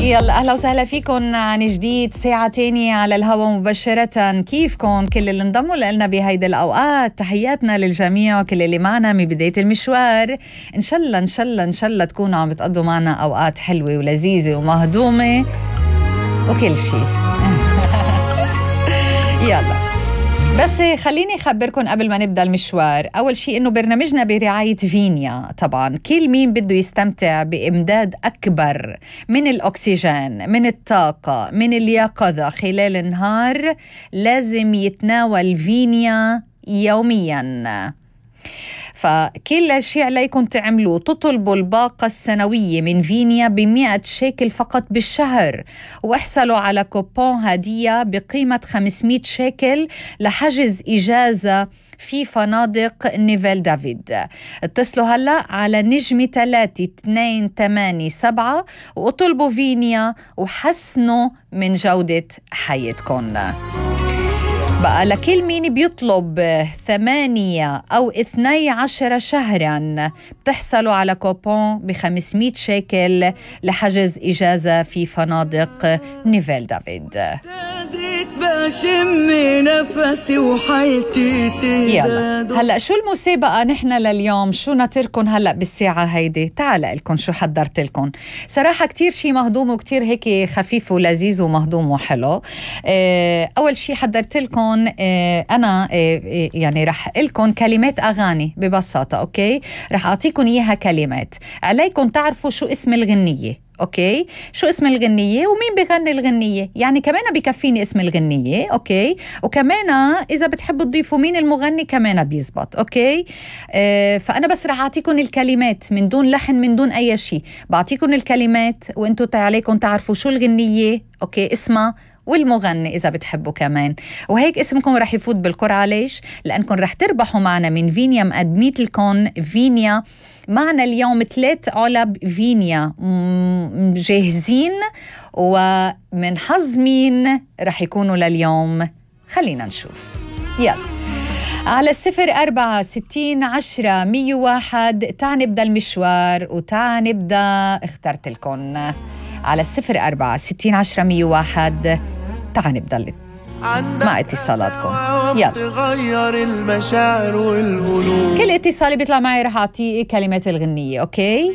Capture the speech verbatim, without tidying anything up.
يلا أهلا وسهلا فيكم عن جديد ساعة تانية على الهواء مباشرة. كيفكم كل اللي انضموا لنا بهيدا الأوقات؟ تحياتنا للجميع وكل اللي معنا من بداية المشوار. إن شاء الله إن شاء الله إن شاء الله تكونوا عم بتقضوا معنا أوقات حلوة ولذيذة ومهضومة وكل شيء. يلا بس خليني أخبركم قبل ما نبدأ المشوار. أول شيء إنه برنامجنا برعاية فينيا. طبعا كل مين بده يستمتع بإمداد أكبر من الأكسجين، من الطاقة، من اليقظة خلال النهار لازم يتناول فينيا يوميا. فكل شيء عليكم تعملوه تطلبوا الباقة السنوية من فينيا بمئة شيكل فقط بالشهر، واحصلوا على كوبون هدية بقيمة خمسمئة شيكل لحجز إجازة في فنادق نيفيل دافيد. اتصلوا هلأ على نجمة ثلاثة اثنين ثمانية سبعة واطلبوا فينيا وحسنوا من جودة حياتكم. بقى لكل مين بيطلب ثمانية أو اثني عشر شهراً بتحصلوا على كوبون بخمسمئة شيكل لحجز إجازة في فنادق نيفيل دافيد. بشم نفسي وحيلتي يلا هلا شو المسابقة نحن لليوم؟ شو ناطركن هلا بالساعة هيدي؟ تعال لكم شو حضرت لكم. صراحة كتير شي مهضوم وكتير هيك خفيف ولذيذ ومهضوم وحلو. اه أول شي حضرت لكم اه أنا اه يعني رح لكم كلمات أغاني ببساطة. أوكي رح أعطيكم إياها كلمات، عليكم تعرفوا شو اسم الغنية. أوكي شو اسم الغنية ومين بغني الغنية، يعني كمان بكفيني اسم الغنية. أوكي وكمان إذا بتحبوا تضيفوا مين المغني كمان بيزبط. أوكي آه فأنا بس رح أعطيكم الكلمات من دون لحن من دون أي شيء. بعطيكم الكلمات وإنتوا عليكم تعرفوا شو الغنية أوكي اسمها والمغني إذا بتحبوا كمان، وهيك اسمكم رح يفوت بالقرعة. ليش؟ لأنكم رح تربحوا معنا من فينيا. مقدميت لكم فينيا معنا اليوم ثلاث علب فينيا جاهزين، ومن حظ مين رح يكونوا لليوم؟ خلينا نشوف. يلا على الصفر أربعة ستين عشرة مية واحد تعال نبدأ المشوار وتعال نبدأ. اخترت لكم على الصفر أربعة ستين عشرة مية واحد تعال نبدأ مع اتصالاتكم. يلا تغير المشاعر والقلوب. كل اتصال بيطلع معي رح أعطيه كلمات الغنية. أوكي